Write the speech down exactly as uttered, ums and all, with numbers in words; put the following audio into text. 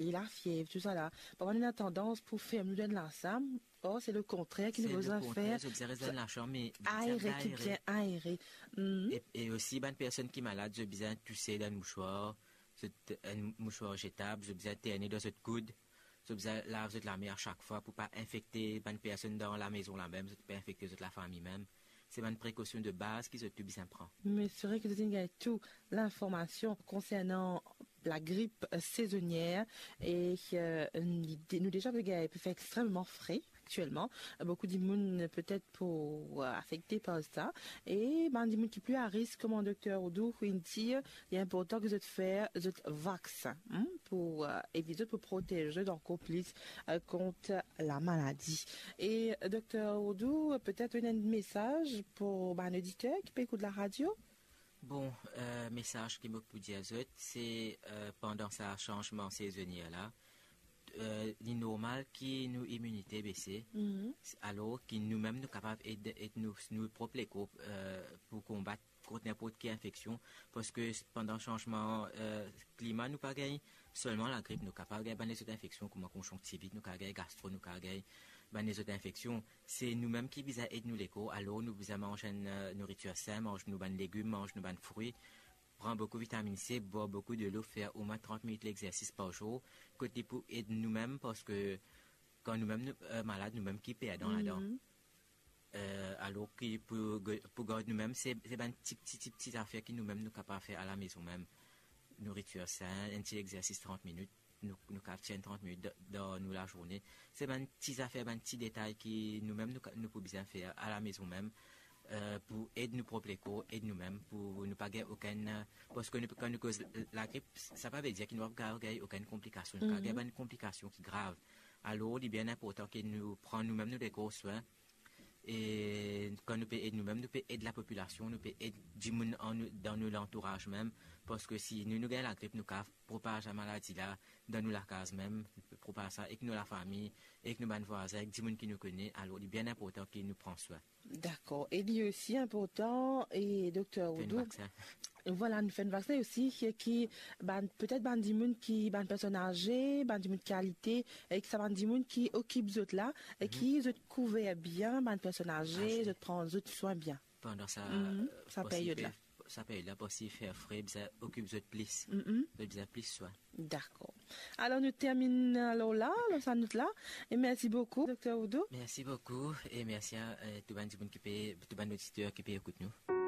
e lafiev, tousala. Parfwa nou ena tandans pou ferm nou dan lasam, or se le kontrer ki nou bizin fer. Zot bizin res dan lasam, me bizin aere, bien aere. E, e osi bann personn ki malad, zot bizin touse dan enn mouswar, zot, enn mouswar zetab, zot bizin terne dan zot koud, zot bizin lav zot lame a sak fwa pou pa infekte bann personn dan lamezon la mem, zot pa infekte zot lafami mem. Se bann prekosion de baz ki zot tou bizin pran. Me se vre ki zot inn gagn tou linformasion konsernan lagrip, eh, sezonier e, eh, nou de-, nou deza pe gagn, pe fer extrememan fre aktielman. Boukou dimoun petet pou, eh, afekte par sa. E bann dimoun ki pli a risk, kouma Dokter Oudou inn dir, li inportan ki zot fer zot vaksin, hmm, pou, eh, evit zot, pou protez zot ankor plis, eh, kont lamaladi. E Dokter Oudou, petet ou ena enn mesaz pou bann oditer ki pe ekout laradio? Bon, eh, mesaz ki mo pou dir zot, se, eh, pandan sa sanzman sezonier la, eh, li normal ki nou iminite bese, alor ki nou mem nou kapav ed, ed nou, nou prop lekor, eh, pou konbat kont ninport ki infeksion, parski pandan sanzman, eh, klima, nou pa gagn selman lagrip, nou kapav gagn bann lezot infeksion, kouma konzonktivit, nou kapav gagn gastro, nou kapav gagn bann lezot infeksion. Se nou mem ki bizin ed nou lekor, alor nou bizin manz enn, eh, nouritir sin, manz nou bann legim, manz nou bann frwi, pran boukou vitaminn C, bwar boukou delo, fer omwin trant minit lexersis par zour, kot li pou ed nou mem, parski kan nou mem nou, eh, malad, nou mem ki perdan ladan. Eh, alor ki pou, pou gard nou mem, se, se bann ti, ti, ti, ti zafer ki nou mem nou kapav fer alamezon mem. Nouritir sin, enn ti lexersis trant minit, nou, nou kapav tir enn trant minit dan, dan nou lazourne. Se bann ti zafer, bann ti detay ki nou mem nou ka-, nou pou bizin fer alamezon mem, eh, pou ed nou prop lekor, ed nou mem, pou nou pa gagn okenn, eh, parski nou, kan nou koz lagrip, sa pa ve dir ki nou pa kapav gagn okenn konplikasion. Nou kapav gagn bann konplikasion ki grav. Alor, li bien inportan ki nou pran nou mem nou lekor swin, e kan nou pe ed nou mem, nou pe ed lapopilasion, nou pe ed dimoun an nou, dan nou lantouraz mem, parski si nou, nou gagn lagrip, nou kapav propaz lamaladi la dan nou lakaz mem, propaz sa ek nou lafami, ek nou bann vwazin, ek dimoun ki nou kone. Alor, li bien inportan ki nou pran swin. Dakor. E li osi inportan, e Dokter Oudou, fer enn vaksin. Vwala, nou fer enn vaksin osi, ki, ki bann, petet bann dimoun ki, bann personn aze, bann dimoun ki alite, e ki sa bann dimoun ki okip zot la, e ki zot kouver bien, bann personn aze, zot pran zot swin bien. Pandan sa, sa period la. Sa period la, parski fer fre, bizin okip zot plis. Zot bizin plis swin. Dakor. Alor, nou terminn alor la, lor sa not la. E mersi boukou, Dokter Oudou. Mersi boukou e mersi a, eh, tou bann dimoun ki pe, tou bann oditer ki pe ekout nou.